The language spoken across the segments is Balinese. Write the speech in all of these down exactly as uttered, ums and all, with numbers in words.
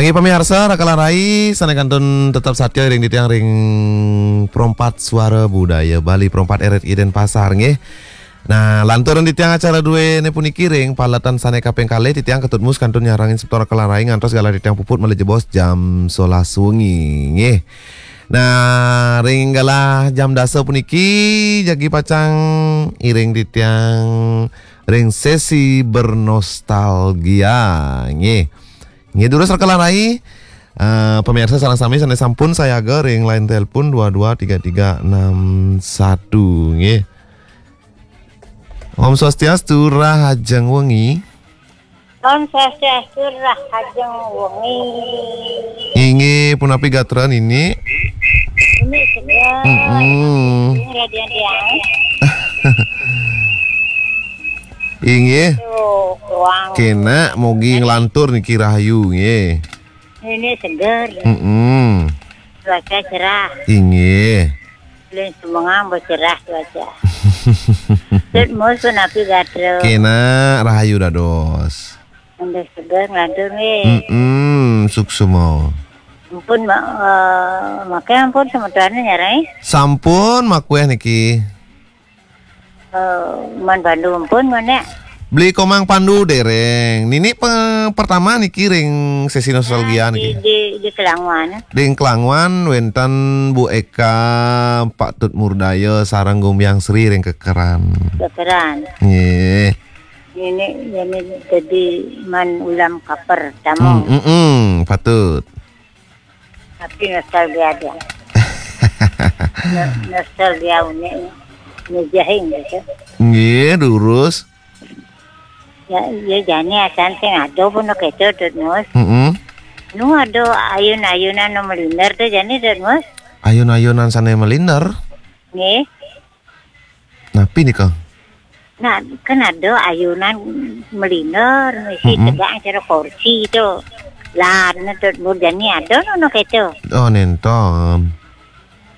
Nggih, pamiarsa, raka lan rai, sané kantun tetep satia ring titiang ring Pro empat Suara Budaya Bali, Pro empat R R I Denpasar, nggih. Nah, lanturang titiang acara duéné puniki ring paletan sané kaping kalih, titiang Ketut Mus kantun nyarengin semeton raka lan rai ngantos galah titiang puput malih jebos jam solas wengi, nggih. Nah, ring galah jam dasa puniki jagi pacang iring titiang ring sesi bernostalgia, nggih. Nggih, durus raka lan rai, eh, pamiarsa sareng sami sané sampun sayaga ring line telepon dua dua tiga tiga enam satu, nggih. Om Swastiastu, rahajeng wengi. Om Swastiastu, rahajeng wengi. Inggih, punapi gatra nini? Ini segar. Mm-mm. Ini radian tiang. Inggih. Tuh, ruang. Kénak, mugi nglantur niki rahayu, nggih. Ini segar. Mm-mm. Cuaca cerah. Inggih. Bulan Semengang bercerah cuaca. Tut Mus punapi gatra? Kénak, rahayu dados. Udah segar nglantur nggih. Mm-mm, suksma. Ampun, ma-, eh, maké ampun semeton nyarengin. Sampun makuéh niki. Eh, Man Pandu ampun, Man, ya? Beli Komang Pandu déréng. Nini pe-, pertama niki ring sesi nostalgia. Di, niki. Di, di Kelangwan. Ring Kelangwan wénten Bu Eka, Pak Tut Murdaya, sareng Gumbyang Sri ring kekeran. Kekeran. Nggih. Ini, ini jadi Man Ulam Kaper, tamu. Hmm, mm-mm, patut. Tapi nostalgia dia. No-, nostalgia unik, unik jahing gitu. Nggih, durus. Ya, ya jani asan sing ada pun kéto, Tut Mus. Mm-mm. Nu ada ayun-ayunan nu malinder to jani, Tut Mus. Ayun-ayunan sané malinder? Nggih. Napi nika? Nah, kan ada ayunan malinder, misi, mm-mm, tegak cara kursi to. Lah, anu to, murjani ada nu kéto. Oh, nénten.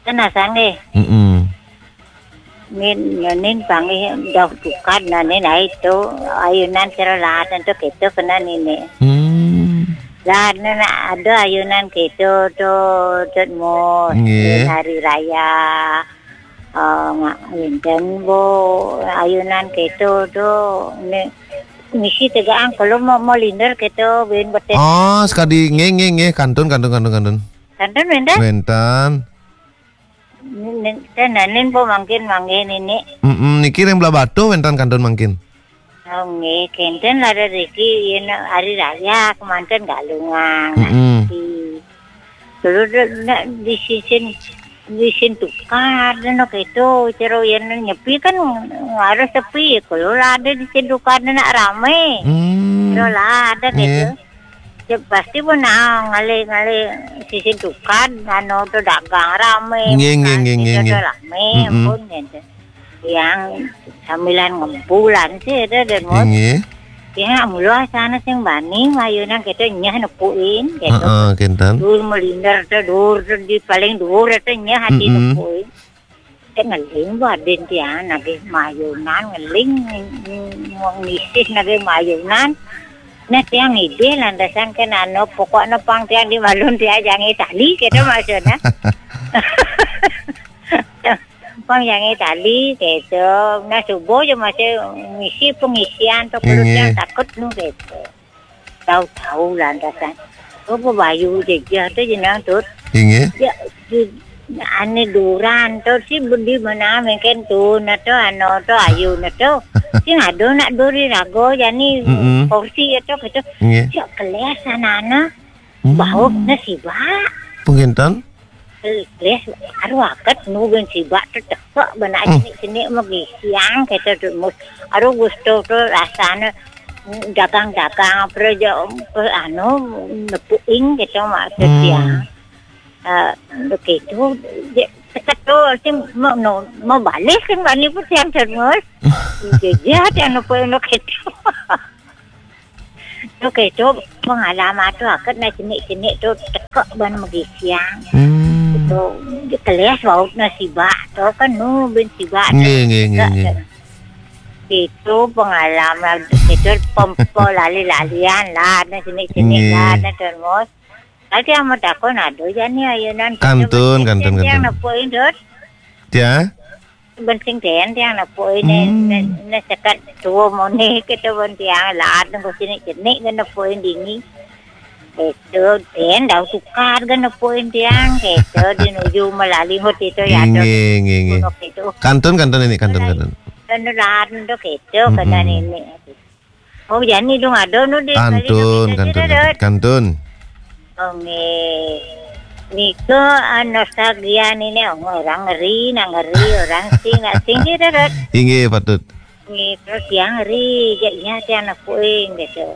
Kan asan nggih. Mm-mm. Nin, nin panggih dauh tukad, nah, nin ai to, ayunan cara lah, anu to kéto kena nini. Hmm. Lah, anu, nah, ada ayunan kéto to, Tut Mus. Nggih. Nin hari raya. Ah, nga-, wénten, Bu, ayunan kéto to, né, misi tegakan kala ma-, malinder kéto, buin betis. Oh, sakadi, nggih, nggih, nggih, kantun, kantun, kantun, kantun. Kantun wénten? Wénten. Nin, nin, ten, nin, Bu, mangkin, mangkin nini. Mm-mm, niki ring Blahbatuh wénten kantun mangkin. Oh, nggih, kénten lah riki yén hari raya kemanten Galungan. Mm-mm. Di, dulu de-, nak di sisin, di sisin tukad, anu kéto, cara yén nyepi kan harus sepi, kala ada di sisin tukad nak ramé. Hmm. Cara lah ada kéto. Nggih. Ya, pasti pun, ah, ngalih-ngalih sisin tukad, anu to dagang ramé, nggih, nggih, bukan nggih, nggih, kéto nggih. Ramé, mm-mm, ampun, kéto. Yang sambilan ngempulan sih ada dan mot. Inggih. Ya, mula sana sing bani, mayunan kéto nyah nepukin, kéto. Heeh, kénten. Dur malinder to, dur to di paling dur to nyah ati, mm-mm, nepukin. Té ngeling, Bu, adin tiang, nagih mayunan, ngeling, ng-, ngisih nagih mayunan. Nah, tiang ngidih lantasan kan anu, pokoknya pang tiang di malun tiang jangé tali, kéto maksudnya. Pang jangé tali, kéto. Nah, subuh ja masih ngisi pengisian to, perlu, inggih, tiang takut nu, kéto. Tahu-tahu lantasan. Oh, bayu jejeh to jenang, Tut. Inggih. Ya, di, ané duran to, si budi mana mengken tu, na to, ano to, ayu na to. Sing ada nak duri rago, jani, mm-mm, kursi to, kéto. Inggih. Cak keles anak-anak. Hmm. Baut na sibak. Penginten? Keles, aru aket nu ben sibak to tekek benak, hmm, sini-sini magisiang, kéto Tut Mus. Aru gusto to rasane dagang-dagang, apa aja, apa, anu, nepuing kéto maksud, hmm, tiang. Eh, begitu, je, tekek to, sing mau, no, mau balik sing bani pun tiang Tut Mus. Jejeh tiang nepuing kéto. To kéto pengalaman to aket na cenik-cenik to tekek ban magisiang. Hmm. To keles baut na sibak to kan nu ben sibak. Nggih, nggih, nggih, nggih. Itu pengalaman to kéto pempo lali-lalian lah na cenik-cenik, nggih, lah na termos. Tadi amat aku nado jani ayunan. Kantun, kantun, kantun. Yang nepuk indut. Ya. Bensing den yang nepuk ini, hmm. Ne, ne sekat tua moni kita pun tiang laat nunggu sini jenik kan nepuk ini. Itu den dau tukar kan nepuk ini tiang. Itu di nuju melalui ngut itu ya. Inggih, inggih, inggih. Itu. Kantun, kantun ini, kantun, kantun. Kan laat untuk itu, hmm, kena ini. Oh, jani dong ada nu di kantun, kantun, kantun. Oh, nggih. Nika, ah, nostalgia nini, oh, orang ngeri, nak ngeri, orang sing, nak sing, gitu, Dot. Inggih, patut. Nggih, terus yang ngeri, jak iya, tiang anak puing, gitu.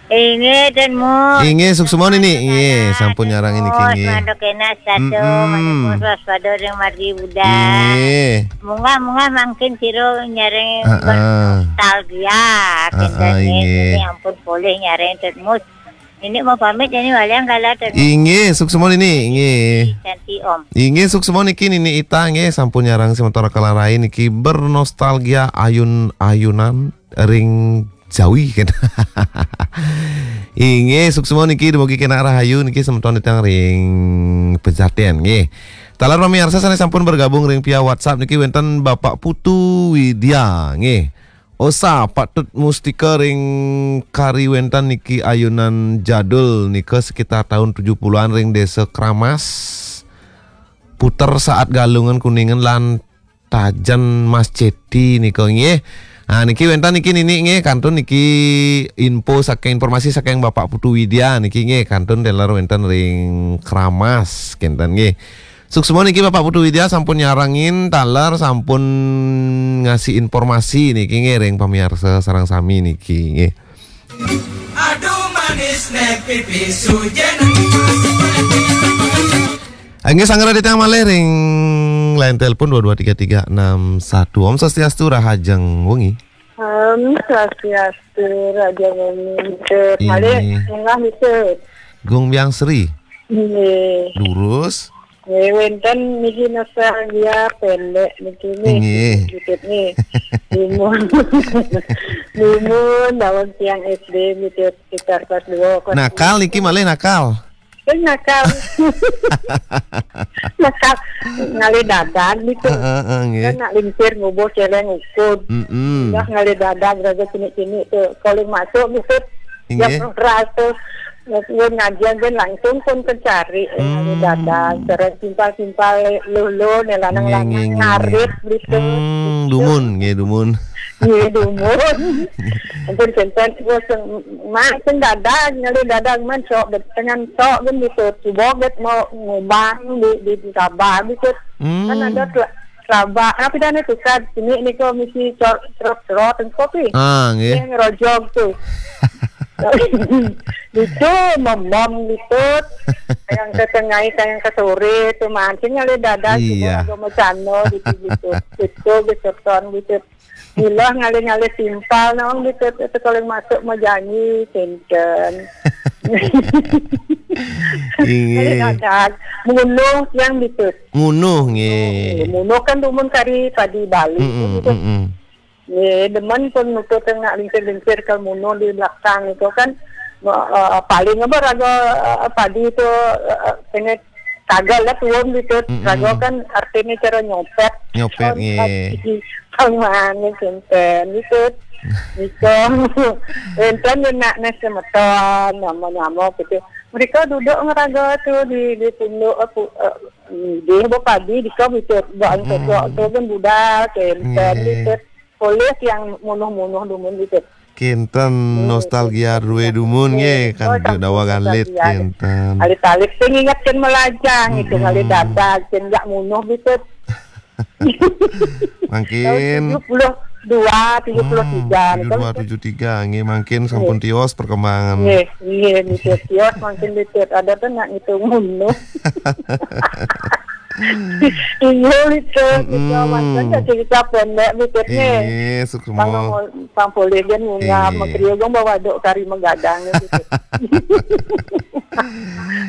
Inggih, dan mu. Inggih, suksma nini. Inggih, sampun nyarang ini, oh, inggih. Semandak kena satu, mm-mm. Mana waspada ring margi Buddha. Inggih. Mungah-mungah mangkin sira nyareng, heeh, nostalgia, heeh, kinten, inggih. Ini ampun boleh nyareng termus. Ini mau pamit, ini walian kala termus. Inggih, suksma nini, inggih. Santi, Om. Inggih, suksma niki nini Ita, nggih, sampun nyarang sementara kalarai niki bernostalgia ayun-ayunan ring Jawi, kan. Inggih, suksma niki dumugi kena rahayu niki semeton titang ring pejaten, nggih. Taler pamiarsa sané sampun bergabung ring via WhatsApp niki wénten Bapak Putu Widya, nggih. Osa patut mustika ring kari wénten niki ayunan jadul nika sekitar tahun tujuh puluhan ring Desa Kramas. Puter saat Galungan Kuningan lan Tajen Mas Ceti nika nggih. Ah, niki wénten niki nini nggih, kantun niki info saking, informasi saking Bapak Putu Widya niki nggih, kantun taler wénten ring Kramas kinten nggih. Suksma niki Bapak Putu Widya sampun nyarengin taler, sampun ngasih informasi niki nggih ring pamiarsa sareng sami niki nggih. Aduh manis nek pipi sujen. Inggih, sanggra titiang malih ring line telepon dua dua tiga tiga enam satu. Om Swastiastu, rahajeng wengi. Om Swastiastu, rahajeng wengi. Inggih. Malih, enggah, Mister. Gung Biang Sri. Inggih. Lurus. Nggih, wénten niki nostalgia pendek niki nih. Inggih. Dikit nih. Dumun. Dumun, daweg tiang S D niki sekitar kelas dua, kelas tiga. Nakal niki malih nakal. Eh, nakal. Nakal. Ngalih dadag gitu. Heeh, heeh, nggih. Kan nak lingsir ngubuh céléng ukud. Mm-mm. Udah ngalih dadag raga cinik-cinik tuh. Calling masuk gitu. Inggih. Jam sebelas tuh. Nggih, ngajian kan langsung pun kecari, eh, hmm, dagang, cara simpal-simpal lulu, nih, lanang-lanang, nggih, nggih, nggih, ngarit, gitu. Hmm, dumun, nggih, dumun. Nggih, dumun. Ampun, kinten, wes, mak, sing dagang, ngalih dagang, man, sok, bet-, dengan sok, kan, gitu. Coba, bet, mau ngubang di, di, di Sabah, gitu. Hmm. Kan ada tuh, Sabah, tapi dah nih, tukar, sini, nih, kok, mesti cor-, cerot-cerot, kopi. Ah, nggih. Yang rojok tuh. Itu memom gitu. Yang ke tengah, yang ke sore tuh mancing oleh dada. Iya. Cuma agak macano gitu, gitu. Gitu, gitu, ton gitu. Gila ngalih-ngalih simpal, nong gitu. Itu kalau yang masuk mau janji, kenceng. Iya. Ngalih dadak. Munuh yang gitu. Munuh, nggih. Munuh kan dumun kari padi Bali. Mm-mm, gitu. Mm-mm. Nggih, demen pun nutut nak lingsir-lingsir ke muno di belakang itu kan, eh, paling apa raga, eh, padi itu, eh, kena tagal lah tuun gitu. Mm-mm. Raga kan artinya cara nyopet. Nyopet, kan, nggih. Padi pangmane kinten gitu. Gitu. Enten nak nes semeton, nyamo-nyamo gitu. Mereka duduk ngeraga tuh di, di punduk, eh, pu-, eh, dia bawa padi di kau gitu. Bawa angkut, mm-mm, bawa angkut kan budal, kinten, nggih, gitu. Polih yang munuh-munuh dumun gitu. Kinten, hmm, nostalgia rue dumun, nggih, nggih, kan, oh, sampun dawa galit, nostalgia. Kinten. Alit-alit sing inget kan melajang gitu, mm-mm, ngalih dadag, sing jak munuh gitu. Mangkin tahun tujuh puluh dua, tujuh puluh tiga, hmm, tujuh dua, gitu. Tujuh tiga, nggih, mangkin sampun, nggih, tios perkembangan. Nggih, nggih, gitu, tios mangkin gitu. Ada tuh nak ngitung munuh. Iya, Mister. Mm-mm. Maksudnya cerita pendek, Mister, nih. Iya, suksma. Pang, pang polih kan munggah, iya, menteri agung bawa dok kari menggadang, gitu.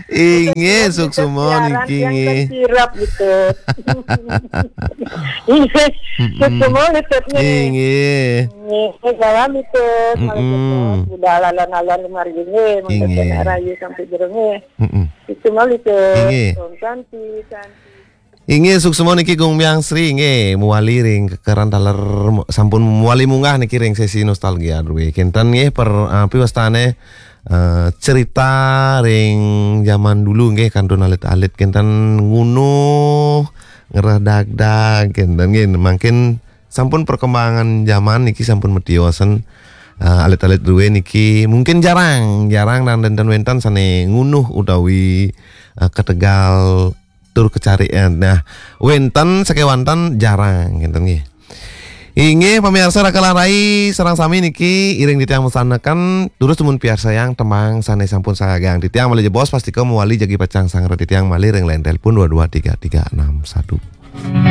Inggih, suksma niki, inggih. Sirap gitu. Inggih, suksma niki. Inggih. Inggih, salam itu. Budal alon-alon kemari nggih, mangke rayu sampai jero nggih. Suksma niki. Inggih. Santi, santi. Inggih, suksma niki Gung Myang Sri nggih, muwali ring kekeran taler mu-, sampun muwali munggah niki ring sesi nostalgia druwe. Kinten nggih per, eh, piwastane, eh, cerita ring zaman dulu nggih, kantun alit-alit kinten ngunuh, ngerah dagdag kinten nggih. Mangkin sampun perkembangan zaman niki sampun metiosen, eh, alit-alit druwe niki mungkin jarang, jarang dan wenten-wenten sane ngunuh utawi, eh, ketegal tur kecarian. Nah, wenten sakewanten jarang, ngenten nggih. Inggih, pamiarsa Raka lan Rai, sareng sami niki iring titiang masandekan, durus dumun piarsayang tembang sane sampun sagang. Titiang malih jebos, pastika mawali jagi pacang sanggra titiang malih ring line telepon dua dua tiga tiga enam satu.